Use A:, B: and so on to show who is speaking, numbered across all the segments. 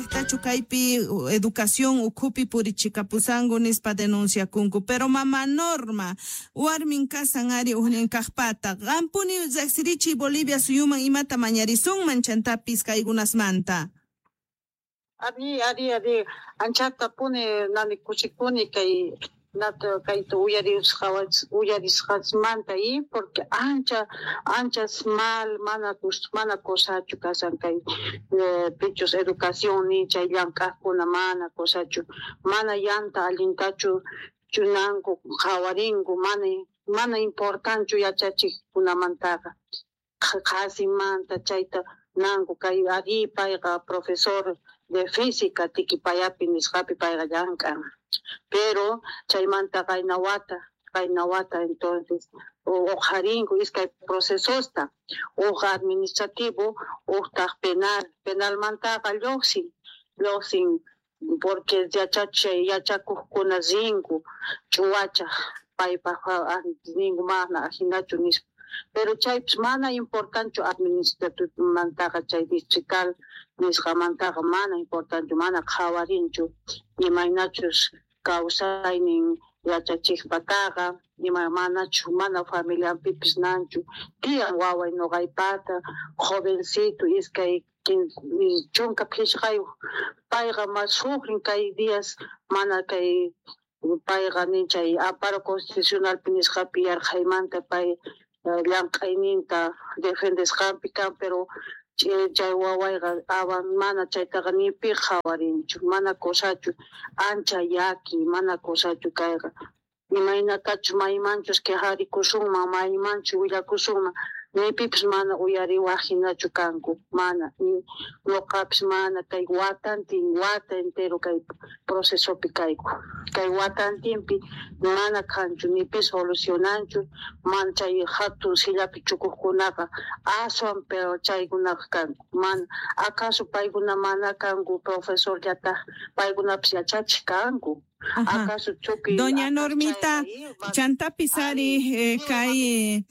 A: Tachu kaypi educación ukhupi purichikapusanku nispa denunciakunku. Pero mama Norma, warmin kasan ari ujnin kajpata. Qampuni riqsirichiy Bolivia suyuman imata mañarisunman chantapis kaykunasmanta.
B: Ari, ari, ari, anchatapuni nani kusikuni kay nata kayta uyarisqasmanta y porque ancha anchas mal mana mana cosachu kasan kay pichus educación ni chay llank'aqkuna mana cosachu mana llanta allintachu chunanku qhawarinku mana mana importanchu yachachiqkunamantaqa qhasimanta chayta nanku kay ari payqa profesor de física Tiquipayapi nisqapi payqa llank'an pero chaymanta qayna wata entonces uqharinku iskay procesosta uj administrativo ujtaq penal penalmantaqa lluqsin porque yachakuqkuna rinku ch'uwachaq paypaq ninku mana ajinachu nispa pero chaypis mana importanchu administrativomantaqa chay distrital nisqamantaqa mana importanchu mana qhawarinchu imaynachus kawsaynin yachachiqpataqa ima manachu mana familianpipis nanchu tiyan waway nuqaypata jovencito 25 payqa ma sufrin kay días mana kay payqa nin chay amparo constitucionalpi nisqapi yarqhaymanta pay llank'ayninta defendesqanpi kan pero chay wawayqa mana chaytaqa ni pi qhawarinchu mana cosachu ancha llaki mana cosachu kayqa imaynatachus maymanchus quejarikusunman maymanchus willakusunman ni pipis mana uyariwaq hinachu kanku mana nuqapis mana kay watantin wata entero kay procesopi kayku kay watantinpi mana kanchu ni pi solucionanchu mana chay hatun sillapi chukuqkunaqa aswan peor chaykunaqa kanku mana acaso paykuna mana kanku profesorllataq paykunapis yachachiq kanku. Acaso tukuy
A: Doña Normita, chantapis ari kay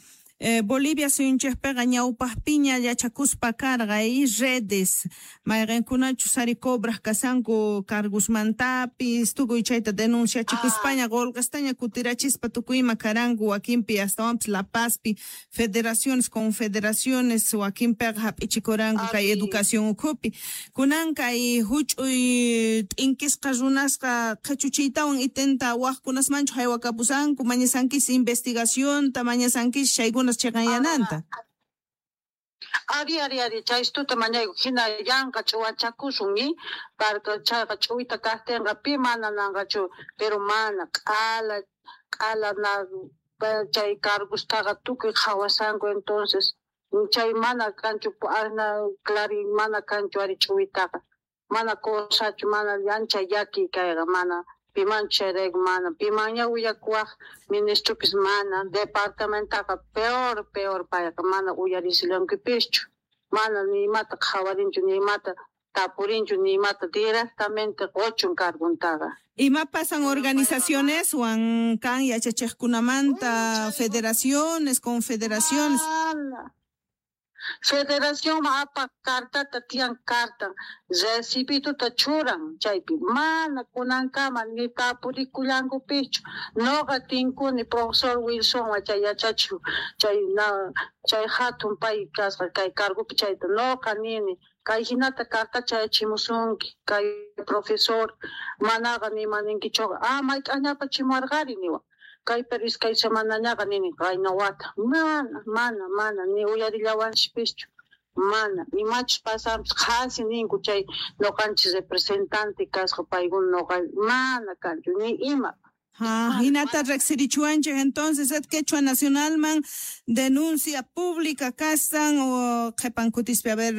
A: Bolivia suyunchikpiqa ñawpaqpiña yachakuspa karqa y redes mayqinkunachus ari cobraq kasanku cargosmantapis tukuy chayta denunciachikuspaña qolqestaña kutirachispa tukuy ima karanku wakinpi astawanpis La Pazpi federaciones confederaciones wakinpiqa hap'ichikuranku kay educación ukhupi kunan kay huch'uy t'inkisqa runasqa qhichuchiytawan itenta waqkunasmanchu haywakapusanku mañasankis investigacionta mañasankis chaykuna chhiqanyananta.
B: Ari ari ari chaystuta mañayku hina yanqa ch'uwachakusun ñi parka chayqa ch'uwita kaqtinqa pi mana nanqachu pero mana q'ala q'ala na chay cargostaqa tukuy qhawasanku entonces chay mana kanchu ana clari mana kanchu ari ch'uwitaqa mana cosachu mana ancha llaki kayqa mana pimanchu chayrayku mana pimanña willakuwaq ministropis mana departamentaqa peor peor payqa mana uyarisillankipischu mana ni imata qhawarinchu ni imata tapurinchu ni imata directamente quchun carguntaqa.
A: Ima pasan organizacioneswan kan yachachiqkunamanta federaciones confederaciones.
B: Federación apaq cartata tiyan carta recibituta churan chaypi mana kunankama ni tapurikullankupischu nuqa tinkuni profesor Wilsonwan chay yachachiq chay chay hatun pay kasqa kay cargopi chayta nuqa nini kay hinata carta chayachimusunki kay profesor manaqa nimaninkichuqa ah mayk'aqñapas chimuwarqari niwan kay pero iskay semanañaqa nini qayna wata mana mana mana ni uyarillawanchikpischu mana imachus pasanpis qhasi ninku chay nuqanchis representante kasqa paykuna nuqa mana kanchu ni ima.
A: Hinata riqsirichuwanchik entonces et Quechua Nacionalman denuncia pública kasan o qhipan kutispi a ver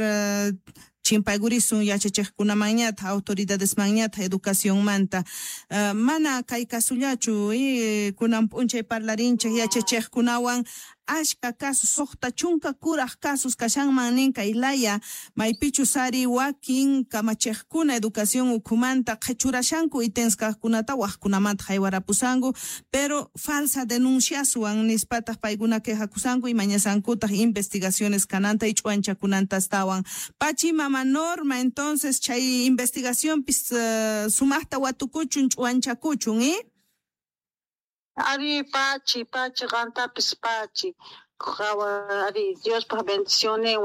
A: chimpaygurisun yachachiqkunamanñataq autoridadesmanñataq educacionmanta mana kay kasullachu kunan p'unchay parlarinchik yachachiqkunawan Ashka casos, 60 kuraj casos kashanman nin kay laya, maypichus ari wakin kamachejkuna educación ukhumanta qhechurashanku itens kajkunata wajkunamanta haywarapusanku, pero falsa denunciaswan nispataq paykuna quejakusanku y mañasankutaq investigaciones kananta y ch'uanchakunanta astawan. Pachi mama Norma, entonces chay investigacionpis sumaqta watukuchun ch'uanchakuchun, ¿eh?
B: Ari pachi, pachi, qantapis pachi. Ari Diospaj bendiciones,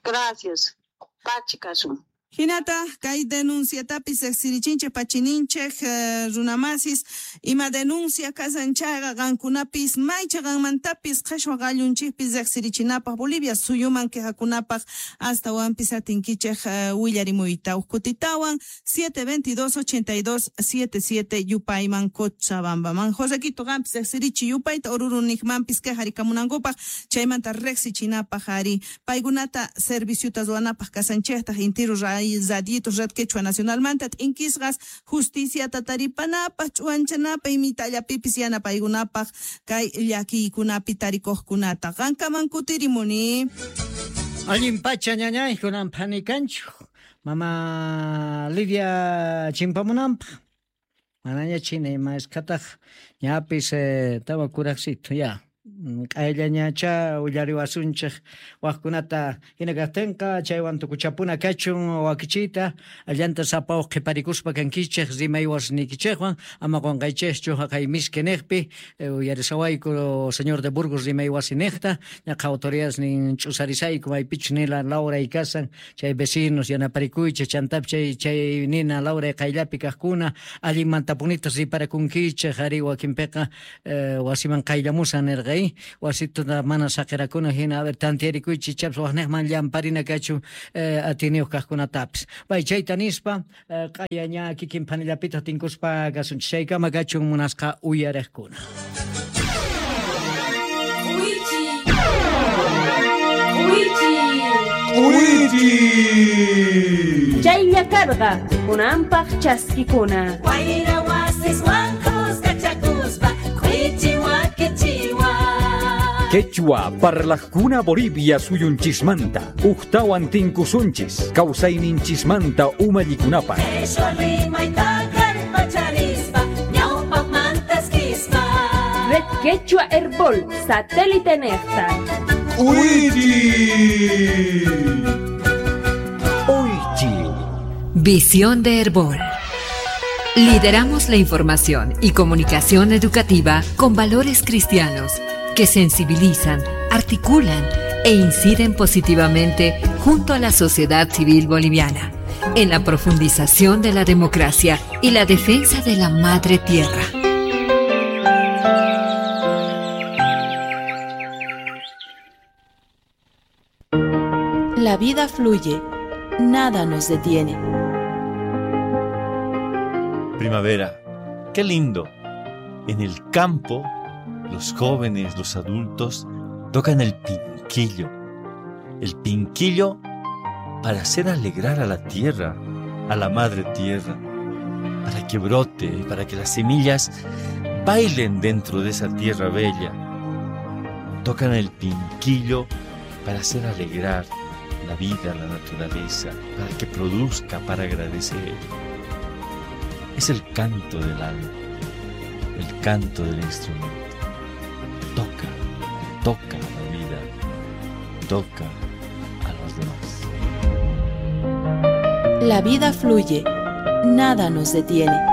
B: gracias. Pachi kasun.
A: Hinata kay denunciatapis riqsirichinchik pachininchik runamasis ima denuncia kasanchaqa qankunapis maycha qanmantapis qheshwa qallunchikpis riqsirichinapaq Bolivia suyuman quejakunapaq astawanpis atinkichik willarimuyta uqkutitawan 722 82 77 yupayman Cochabambaman. Josequito qampis riqsirichi yupayta oruruniqmanpis quejarikamunankupaq chaymanta riqsichinapaq ari paykunata serviciota ruwanapaq kasanchiktaq intiru radiito Red Quechua Nacionalmanta t'inkisqas justicia tataripanapaq ch'uanchanapaq imitallapipis yanapaykunapaq kay llakiykunapi tarikuqkunata qankaman kutirimuni.
C: Allin pacha ñañay kunan phanikanchu mama Lidia chimpamunanpaq manaña china ima iskataq ñapis tawa kuraqsito ya Q'ayllañacha willariwasunchik waqkunata hina kaqtinqa chaywan tukuchapuna kachun wakichiyta allanta sapawaq qhiparikuspa kankichik rimaywasniykichikwan ama qunqaychikchu haqay miski niqpi uyarisawayku señor de Burgos rimaywasi niqta ñaqa autoridades nin ch'usarisayku maypichus nila Laura kasan chay vecinos yanaparikuychik chantapi chay nina Laura qayllapi kaqkuna allinmantapunitas riparakunkichik ari wakinpiqa wasiman qayllamusan nirqa wasituta mana saqirakuna hina a ver tantiarikuychik chaps waqniqman llamparina kachun atiniyuq kaqkunatapis bay chayta nispa q'ayaña kikin phanillapitaq tinkuspa kasunchik chaykama kachun munasqa uyariqkuna.
D: Chaylla karqa kunanpaq chaskikuna.
E: Wayra wasiswan kuskachakuspa k'uichi wakichiwa.
F: Quechua parlajkuna Bolivia suyunchismanta uqtawan tinkusunchis kawsayninchismanta umallikunapaq.
E: Quechua rimayta kallpacharispa ñawpaqmantaskispa.
D: Red Quechua Herbol satélite nexta.
F: Uichi. Uichi.
G: Visión de Herbol. Lideramos la información y comunicación educativa con valores cristianos que sensibilizan, articulan e inciden positivamente junto a la sociedad civil boliviana en la profundización de la democracia y la defensa de la madre tierra.
H: La vida fluye, nada nos detiene.
I: Primavera, qué lindo. En el campo, los jóvenes, los adultos, tocan el pinquillo. El pinquillo para hacer alegrar a la tierra, a la madre tierra, para que brote, para que las semillas bailen dentro de esa tierra bella. Tocan el pinquillo para hacer alegrar la vida, la naturaleza, para que produzca, para agradecer. Es el canto del alma, el canto del instrumento. Toca, toca la vida, toca a los demás.
H: La vida fluye, nada nos detiene.